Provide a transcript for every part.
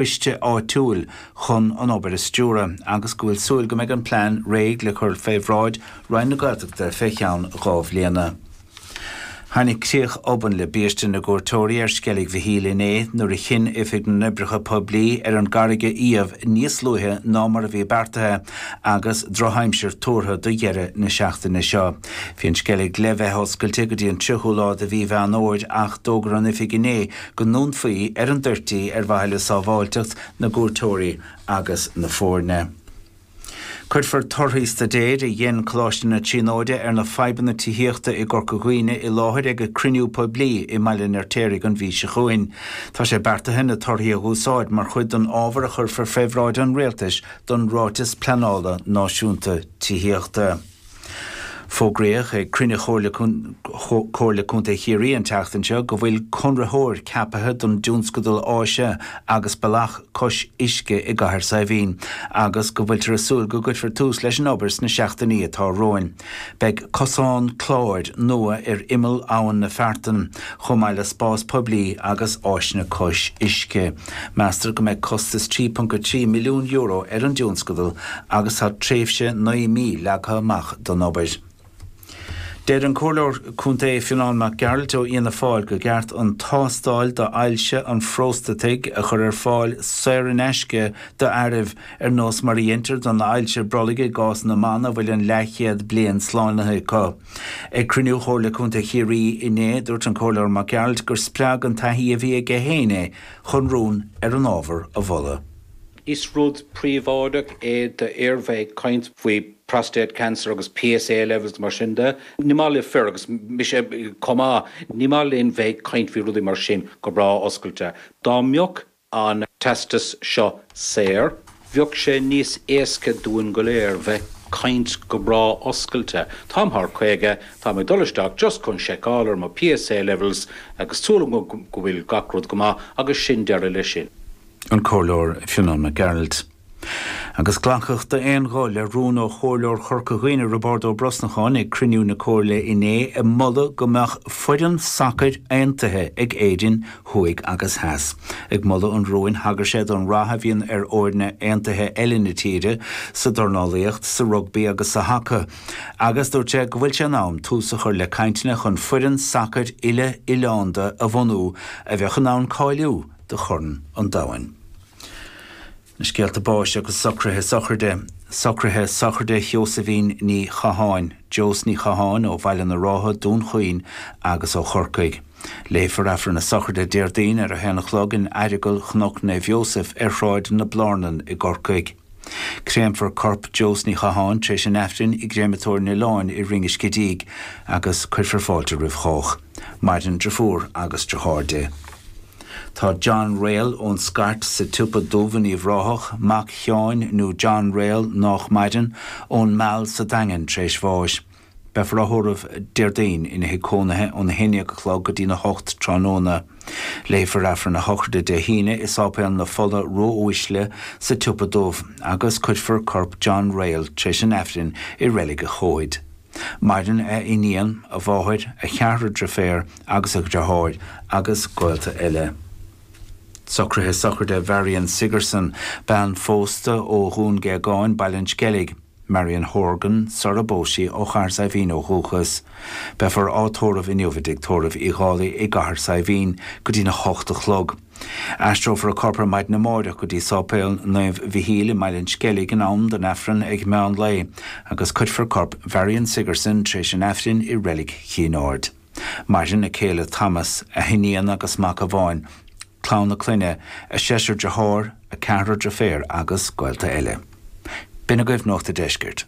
Coiste áitiúil chun an obair a stiúradh agus go bhfuil súil go mbeidh an plean réidh le cur fé bhráid Roinn na Gaeltachta fé cheann 2 bhliana. Tháinig críoch obann le biaiste na gcuairteoirí ar Sceilg Mhichíl inné nuair a chinn Oifig na nOibreacha Poiblí ar an gcarraig a fhiamh níos luaithe ná mar a bhí beartaithe agus drochaimsir tuartha do dheireadh na seachtaine seo. Bhí an Sceilg le bheith oscailte go dtí an 30ú lá de mhí Mheán Fhómhair ach d'fhógair an Oifig inné go ndúnfaí í ar an dtoirt í ar mhaithe le sábháilteacht na gcuairteoirí agus na foirne. Cuirfear torthaí staidéir a dhein Coláiste na Tríonóide ar na fadhbanna tithíochta i gCorca Dhuibhne i láthair ag cruinniú poiblí i mBaile an Fheirtéaraigh an mhí seo chugainn. Tá sé beartaithe na torthaí a dh'úsáid mar chuid den ábhar a chuirfear fé bhráid an Rialtais don Ráiteas Pleanála Náisiúnta Tithíochta. Fógraíodh ag cruinniú Chomhairle Contae Chiarraí an tseachtain seo go bhfuil conraitheoir ceapaithe don dtionscadal áise agus bealach cois uisce i gCathair Saidhbhín agus go bhfuiltear ag súil go gcuirfear tús leis an obair sna seachtainí atá romhainn. Beidh cosán cláir nua ar imeall Abhainn na Feartan chomh maith le spás poiblí agus áiseanna cois uisce. Meastar go mbeidh costas €3.3 milliún ar an dtionscadal agus tá tréimhse 9 mí leagtha amach don obair. Deir an Comhairleoir Contae Fionán Mac Gearailt ó Fhianna Fáil go gceart an tástáil d'ailse an phróstataigh a chur ar fáil saor in aisce d'fhearaibh, ar nós mar a dheintear don ailse brollaigh i gcás na mban a bhfuil an leathchéad bliain slánaithe acu. Ag cruinniú Chomhairle Contae Chiarraí inné, dúirt an Comhairleoir Mac Gearailt gur spreag an taithí a bhí aige féin é chun rún ar an ábhar a mholadh. Is rud príobháideach é d'fhir bheith ag caint faoi prostate cancer agus PSA levels mar sin de. Ní maith le fir, agus mise chomh maith, ní maith linn bheith ag caint faoi rudaí mar sin go breá oscailte. Dá mbeadh an teastas seo saor, bheadh sé níos éasca dúinn go léir bheith caint go breá oscailte. Táim thar 50, táim ag dul isteach just chun seiceáil ar mo PSA levels agus súil agam go bhfuil gach rud go maith agus sin deireadh leis sin. An Comhairleoir Fionán Mac Gearailt. Agus glacadh d'aon ghuth le rún ó Chomhairleoir Chorca Dhuibhne Roibeárd Ó Brosnacháin ag cruinniú na Comhairle inné ag moladh go mbeadh foireann sacair aontaithe ag Éirinn thuaidh agus theas. Ag moladh an rúin thagair sé don rath a bhíonn ar fhoirne aontaithe eile na tíre sa dornálaíocht, sa rugbaí agus sa haca agus dúirt sé go bhfuil sé in am tús a chur le cainteanna chun foireann sacair uile-oileánda a bhunú a bheadh in ann cáiliú do Chorn an Domhain. Na scéalta báis agus socruithe sochraide. Socruithe sochraide Sheosaimhín Ní Chatháin, Jos Ní Chatháin ó Bhaile na Rátha, Dún Chaoin agus ó Chorcaigh. Léifear Aifreann na sochraide Déardaoin ar a haon a chlog in Aireagal Chnoc Naomh Iósaef ar Shráid na Blárnan i gCorcaigh. Créamfar corp Jos Ní Chatháin tar éis an Aifrinn i gCréamatóir an Oileáin i Rinn an Scidígh agus cuirfear fáilte roimh chách. Maireann driofúr agus driotháir di. Tá John Réal ón Scairt sa tSiopa Dubh in Uíbh Ráthach, mac Sheáin nó John Réal nách maireann, ón Meal sa Daingean tar éis bháis. Beifear á thórramh Déardaoin ina thigh cónaithe óna haon déag a chlog go dtína hocht tráthnóna. Léifear Aifreann a shochraide Dé hAoine i Sáipéal na Fola Ró-Uaisle sa tSiopa Dubh agus cuirfear corp John Réal tar éis an Aifrinn i Reilig a' Chomhaid. Maireann a iníon, a mháthair, a cheathrar driféar agus a dhriotháir agus gaolta eile. Socruithe sochraide Mharion Sigerson, bean phósta ó Dhún Géagáin, Baile an Sceilg, Marion Horgan, sara bpós sí, ó Chathair Saidhbhín ó dhúchas. Beifear á tórramh inniu i dTigh Tórraimh Uí Dhálaigh i gCathair Saidhbhín go dtína hocht a chlog. Aistreofar a corp ar maidin amáireach go dtí Sáipéal Naomh Mhichíl i mBaile an Sceilg in am don Aifreann ag meán lae agus cuirfear corp Mharion Sigerson tar éis an Aifrinn i Reilig Chinn Aird. Maireann a céile Thomas, a hiníon agus mac amháin, clann a clainne, a seisear dearthár, a ceathrar driféar agus gaolta eile. B'in agaibh Nuacht a' Deiscirt.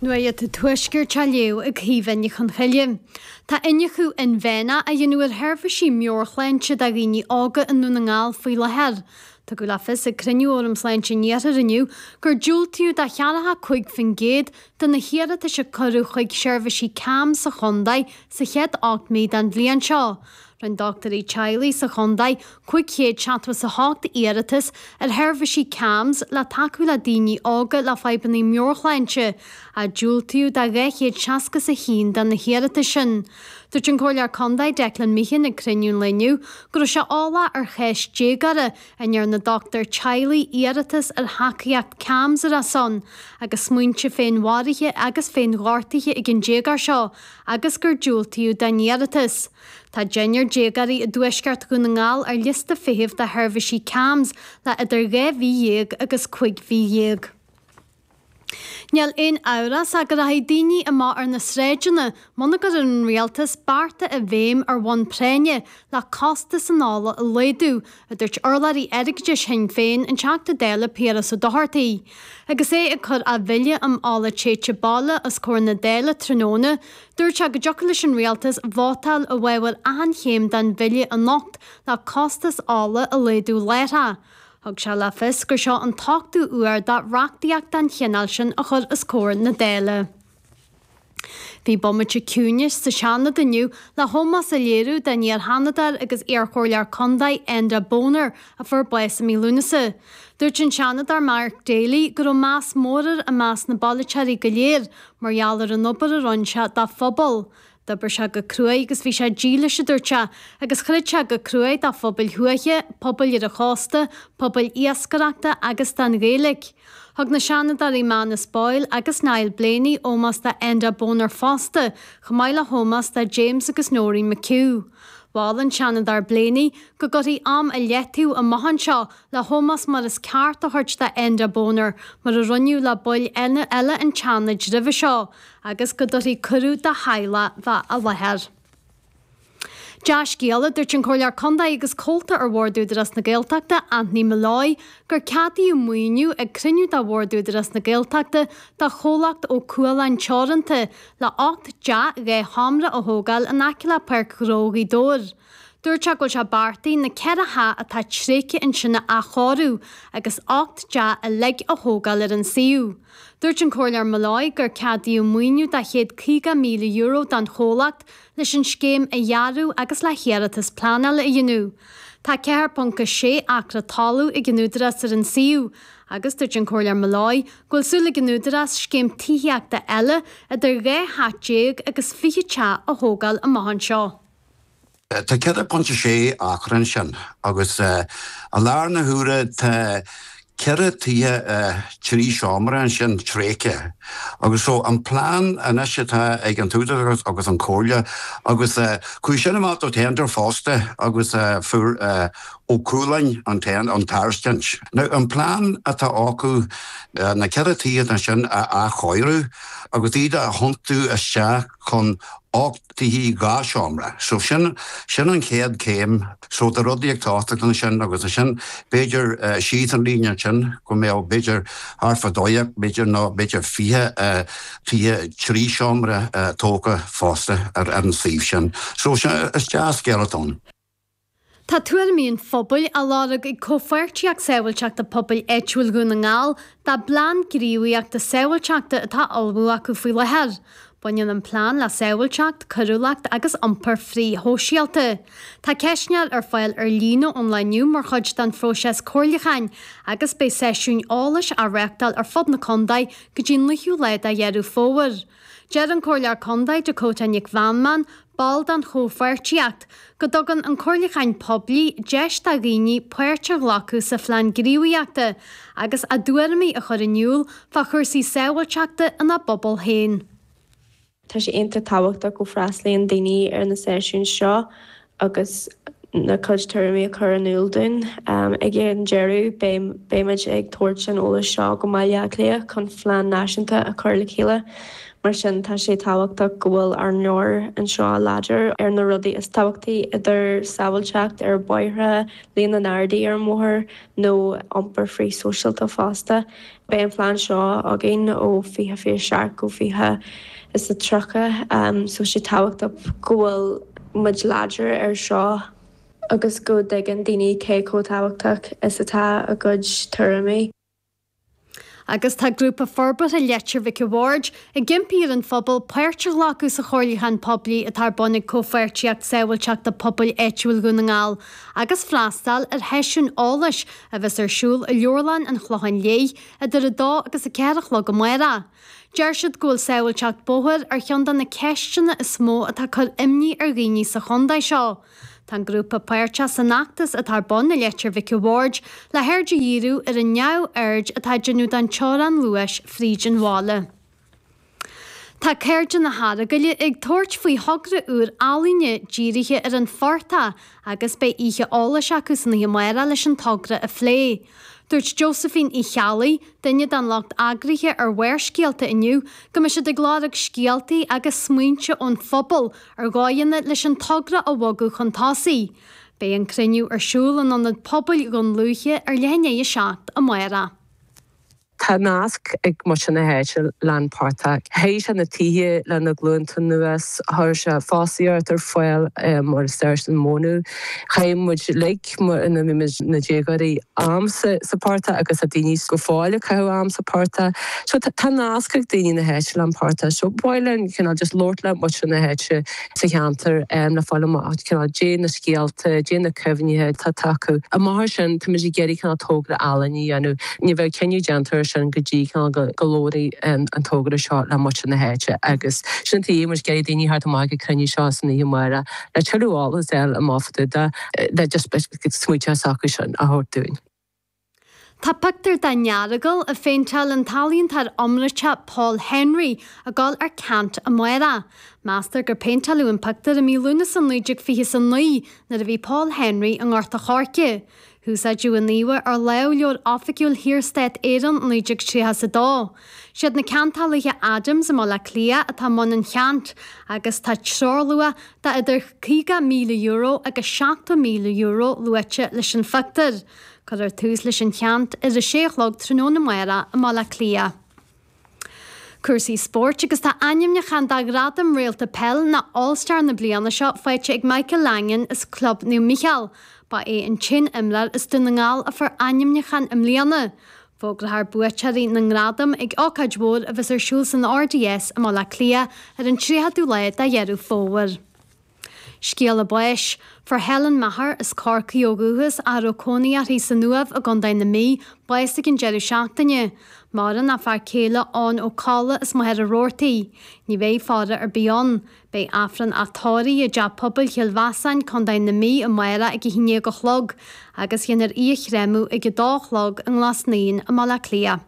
Nuacht an Tuaiscirt á léamh ag Caoimhe Ní Chonchoille. Tá iniúchadh inmheánach á dhéanamh ar sheirbhísí meabhairshláinte do dhaoine óga i nDún na nGall faoi láthair. Tugadh le fios ag cruinniú Fhóram Sláinte an Iarthair inniu gur diúltaíodh do 45% de na hiarratais a cuireadh chuig seirbhísí CAMHS sa chontae sa chéad 8 mí den bhliain seo. Rinne dochtúirí teaghlaigh sa chontae 578 iarratas ar sheirbhísí CAMHS le tacú le daoine óga le fadhbanna meabhairshláinte, ach diúltaíodh do 261 de na hiarratais sin. Dúirt an Comhairleoir Contae Declan Meehan ag cruinniú an lae inniu go raibh sé eolach ar chás déagóra a ndearna dochtúir teaghlaigh iarratas ar thacaíocht CAMHS ar a son agus smaointe féinmharaithe agus féinghortaithe ag an déagóir seo agus gur diúltaíodh dá iarratas. Tá deichniúr déagóirí i dtuaisceart Dhún na nGall ar liosta feithimh do sheirbhísí CAMHS le idir 12 mhí agus 15 mhí. Níl aon amhras ach go rachaidh daoine amach ar na sráideanna muna gcuireann an rialtas bearta i bhfeidhm ar bhonn práinne le costas an ola a laghdú, a dúirt urlabhraí airgeadais Shinn Féin, an Teachta Dála Piaras Ó Dochartaigh. Agus é ag cur a bhille um ola téite baile os comhair na Dála tráthnóna, dúirt sé go dtiocfadh leis an rialtas vótáil i bhfabhar achan chéim den bhille anocht le costas ola a laghdú láithreach. Thug sé le fios gur seo an t-ochtú uair dó reachtaíocht den chineál sin a chur os comhair na Dála. Bhí bomaite ciúinis sa Seanad inniu le hómós a léiriú don iar-Sheanadóir agus iarchomhairleoir contae Enda Boner a fuair bás i mí Lúnasa. Dúirt an Seanadóir Mark Daly go raibh meas mór air i measc na bpolaiteoirí go léir mar gheall ar an obair a rinne sé dá phobal. D'oibir sé go cruaidh agus bhí sé dílis, a dúirt sé, agus throid sé go cruaidh do phobail thuaithe, pobail ar an chósta, pobail iascaireachta agus don Ghaeilge. Thug na Seanadóirí Manus Boyle agus Niall Blaney ómós do Enda Boner fosta, chomh maith le hómós do James agus Noreen McHugh. Mhol an Seanadóir Blaney go gcuirfí am i leataobh amach anseo le hómós mar is ceart a thabhairt do Enda Boner mar a rinneadh le baill eile an tSeanaid roimhe seo agus go dtabharfaí cuireadh dá theaghlach bheith i láthair. Dea-scéala, a dúirt an Comhairleoir Contae agus Comhalta ar Bhord Údarás na Gaeltachta, Anthony Molloy, gur ceadaíodh maoiniú ag cruinniú de Bhord Údarás na Gaeltachta do chomhlacht Ó Cualáin Teoranta le 8 dteach 2 sheomra a thógáil in aice le Páirc Ghnó Ghaoth Dobhair. Dúirt sé go bhfuil sé beartaithe na 4 theach atá tréigthe ansin a athchóiriú agus 8 dteach uilig a thógáil ar an suíomh. Dúirt an Comhairleoir Molloy gur ceadaíodh maoiniú de €150,000 don chomhlacht leis an scéim a dhearadh agus le hiarratas pleanála a dhéanamh. Tá 4.6 acra talaimh ag an Údarás ar an suíomh agus dúirt an Comhairleoir Molloy go bhfuil súil ag an Údarás scéim tithíochta eile idir 12 theach agus 20 teach a thógáil amach anseo. Tá 4.6 acra ansin agus i láthair na huaire tá ceithre tithe 3 seomra ansin tréigthe agus so an plean anois atá ag an t-údarás agus an Chomhairle agus chuaigh sin amach do tender fosta agus fuair Ó Cualáin an tairiscint. Now an plean atá acu na ceithre tithe ansin a athchóiriú agus iad a thiontú isteach chun 8 tithe 2 seomra. So sin, sin an chéad chéim. So tá rudaí ag tosacht ansin agus ansin b'fhéidir síos an líne ansin go mbeadh b'fhéidir thart fá 12 b'fhéidir nó b'fhéidir 20 tithe 3 seomra tógtha fosta ar an suíomh sin. So sin, is dea-scéal atá ann. Tá tuairimí an phobail á lorg ag Comhpháirtíocht Sábháilteachta Pobail Áitiúil Dhún na nGall dá bplean gníomhaíochta sábháilteachta atá á ullmhú acu faoi láthair. Baineann an plean le sábháilteacht, coiriúlacht agus iompar frith-shóisialta. Tá ceistneoir ar fáil ar líne ón lá inniu mar chuid den phróiseas comhairliúcháin agus beidh seisiúin eolais á reáchtáil ar fud na contae go dtí an 9ú lá de Dheireadh Fómhair. Deir an Comhairleoir Contae Dakota Nic Mheanman, ball den chomhpháirtíocht, go dtugann an comhairliúchán poiblí deis do dhaoine páirt a ghlacadh sa phlean gníomhaíochta agus a dtuairimí a chur in iúl fá chúrsaí sábháilteachta ina bpobal féin. Tá sé iontach tábhachtach go bhfreastalaíonn daoine ar na seisiúin seo agus a gcuid tuairimí a chur in iúl dúinn. Ag an deireadh, beimid ag tabhairt an eolais seo go mBaile Átha Cliath chun phlean náisiúnta a chur le chéile. Mar sin, tá sé tábhachtach go bhfuil ár nglór anseo láidir ar na rudaí is tábhachtaí, idir sábháilteacht ar bhóithre, líon na nGardaí ar an mbóthar nó iompar frith-shóisialta fosta. Beidh an plean seo againn ó 2027 go 2030 so sé tábhachtach go bhfuil muid láidir ar seo agus go dtuigeann daoine cé chomh tábhachtach is atá a gcuid tuairimí. Agus tá Grúpa Forbartha Leitir Mhic a' Bhaird ag impí ar an phobal páirt a ghlacadh sa chomhairliúchán poiblí atá ar bun ag Comhpháirtíocht Sábháilteachta Pobail Áitiúil Dhún na nGall agus freastal ar sheisiún eolais a bheas ar siúl i Leabharlann an Chlocháin Léith idir 2 agus 4 a chlog amárach. Deir siad go bhfuil sábháilteacht bóthair ar cheann de na ceisteanna is mó atá ag cur imní ar dhaoine sa chontae seo. Tá an grúpa páirteach san fheachtas atá ar bun i Leitir Mhic a' Bhaird le haird a dhíriú ar an neamhaird atá á déanamh den teorainn luais fríd an bhaile. Tá Cairde na hEaragaile ag tabhairt faoi thogra úr ealaíne dírithe ar an phortach agus beidh oíche eolais acu san oíche amárach leis an togra a phlé. Dúirt Josephine Uí Cheallaigh, duine den lucht eagraithe ar Bharrscéalta inniu, go mbeidh siad ag lorg scéaltaí agus smaointe ón phobal ar dhóigheanna leis an togra a bhogadh chun tosaigh. Beidh an cruinniú ar siúl in Ionad Pobail Dhún Lúiche ar leath i ndiaidh 7 amárach. Tá nasc ag muintir na háite leis an bportach. Théigh sé na tithe le na glúnta anuas, chuir sé fostaíocht ar fáil mar is deir an mónadh. Chaith muid uilig mar ina bhí muid na déagóirí am sa portach agus tá daoine go fóill ag caitheamh am sa portach. So tá nasc ag daoine na háite le an portach. So ba mhaith linn cineál just labhairt le muintir na háite sa cheantar le fáil amach cineál caidé na scéalta, caidé na cuimhnithe atá acu. Amach as sin táimid ag iarraidh cineál togra ealaíne a dhéanamh. Ní bheidh cinneadh déanta ar sin go dtí cineál go labhróidh an togra seo le muintir na háite agus sin an tuige muid ag iarraidh daoine a theacht amach ag an cruinniú seo san oíche amárach le tuilleadh eolas a fháil amach fá dtaobh de le just smaointe s'acu sin a thabhairt dúinn. Tá pictiúr den Earagail a phéinteáil an t-ealaíontóir iomráiteach Paul Henry ag dul ar ceant amárach. Meastar gur péinteáladh an pictiúr i mí Lúnasa 1929 nuair a bhí Paul Henry i nGort a' Choirce. Húsáideadh an íomha ar lámhleabhar oifigiúil Shaorstát Éireann 1932. Siad na ceantálaithe Adams i mBaile Átha Cliath atá i mbun an cheant agus tá treoirluach de idir €50,000 agus €70,000 luaite leis an phictiúr. Cuirfear tús leis an cheant ar a sé a chlog tráthnóna amárach i mBaile Átha Cliath. Cúrsaí spóirt agus tá ainmniúchán do Ghradam Réalta Peil nó All Star na bliana seo faighte ag Michael Langan as Club Naomh Mícheál. Ba é an t-aon imreoir as Dún na nGall a fuair ainmniúchán i mbliana. Fógrófar buaiteoirí na ngradam ag ócáid mhór a bheas ar siúl san RDS i mBaile Átha Cliath ar an 30ú lá de Dheireadh Fómhair. Scéala báis. Fuair Helen Maher, as Corcaigh ó dhúchas, ach a raibh cónaí uirthi san Uaimh i gContae na Mí, bás ag an deireadh seachtaine. Maireann a fear céile Eoin Ó Colla as Machaire Rabhartaigh. Ní bheidh faire ar bith ann. Beidh Aifreann a tórraimh i dTeach Pobail Chill Mheasáin, Contae na Mí amárach ag 11 a chlog agus déanfar í a chréamadh ag 2 a chlog i nGlas Naíon i mBaile Átha Cliath.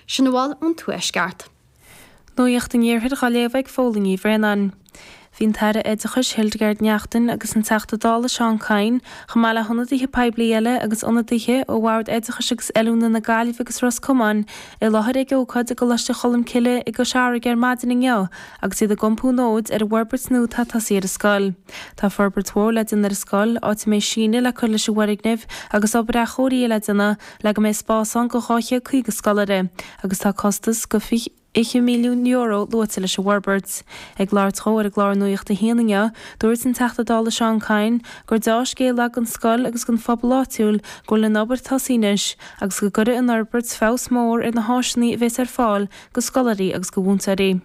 Sin a bhfuil ón Tuaisceart. Nuacht an Iarthair á léamh ag Fódhla Ní Bhraonáin. Bhí an tAire Oideachais Hildegarde Naughton agus an Teachta Dála Seán Kyne, chomh maith le hionadaithe poiblí eile agus ionadaithe ó Bhord Oideachais agus Oiliúna na Gaillimhe agus Ros Comáin i láthair ag ócáid i gColáiste Cholmcille i gCois Fharraige ar maidin inniu agus iad ag iompú an fhóid ar an bhforbairt nua atá tosaithe ar an scoil. Tá forbairt mhór le déanamh ar an scoil, áit a mbeidh síneadh le cur leis an bhfoirgneamh agus obair athchóirithe le déanamh le go mbeidh spás ann do 250 scoláire agus tá costas go €20 milliún luaite leis an bhforbairt. Ag labhairt dhó ar an gclár Nuacht a hAon inniu, dúirt an Teachta Dála Seán Kyne gur deá-scéal é don scoil agus don phobal áitiúil go bhfuil an obair tosaithe anois agus go gcuirfidh an fhorbairt feabhas mór ar na háiseanna a bheas ar fáil do scoláirí agus do mhúinteoirí.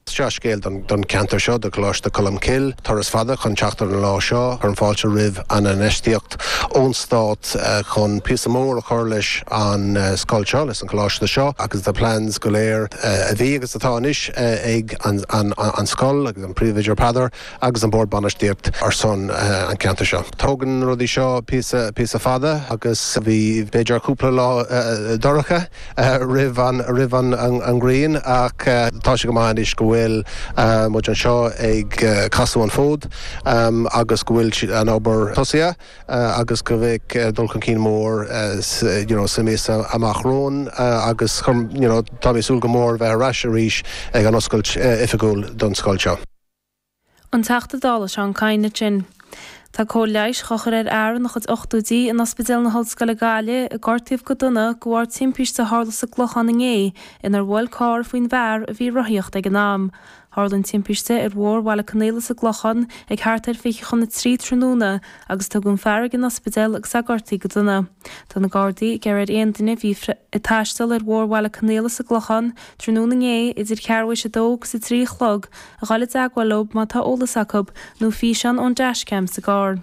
Is dea-scéal don cheantar seo, do Choláiste Cholmcille. Turas fada chun teacht ar an lá seo. Cuirim fáilte roimh an infheistíocht ón Stát chun píosa mór a chur leis an scoil seo, leis an choláiste seo agus na plans go léir a bhí agus atá anois ag an scoil agus an Príomhoide Peadar agus an Bord Bainistíocht ar son an cheantair seo. Tógann na rudaí seo píosa píosa fada agus bhí b'fhéidir cúpla lá dorcha roimh an roimh an ghrian ach tá sé go maith anois go bhfuil muid anseo ag casadh an fód agus go bhfuil an obair tosaithe agus go mbeidh dul chun cinn mór you know sa míosa amach romhainn agus you know tá mé ag súil go mór bheith ar ais arís ag an oscailt oifigiúil don scoil seo. An Teachta Dála Seán Kyne ansin. Tá cóir leighis á chur ar fhear ina chuid ochtóidí in Ospidéal na hOllscoile Gaillimh a gortaíodh go dona de bharr timpiste a tharla sa gClochán inné inar bhuail carr faoin bhfear a bhí ag rothaíocht ag an am. Tharla an timpiste ar Bhóthar Bhaile Conaola sa gClochán ag thart ar 20 chun a 3 tráthnóna agus tugadh an fear ag an ospidéal agus é gortaithe go dona. Tá na Gardaí ag iarraidh ar aon duine a bhí ag taisteal ar Bhóthar Bhaile Conaola sa gClochán tráthnóna inné idir ceathrú théis a dó agus a 3 a chlog a dhul i dteagmháil leo má tá eolas acu nó físeán ón dashcam sa gcarr.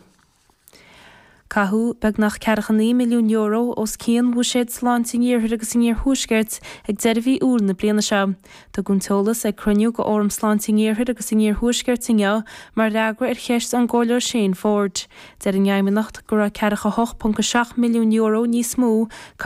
Caitheadh beagnach €49 milliún os cionn bhuiséad sláinte an Iarthair agus an Iarthuaiscirt ag deireadh mhí Iúil na bliana seo. Tugadh an t-eolas ag cruinniú de Fhóram Sláinte an Iarthair agus an Iarthuaiscirt inniu mar fhreagra ar cheist ón gComhairleoir Shane Forde. Deir an Fheidhmeannacht go raibh €48.7 milliún níos mó caite.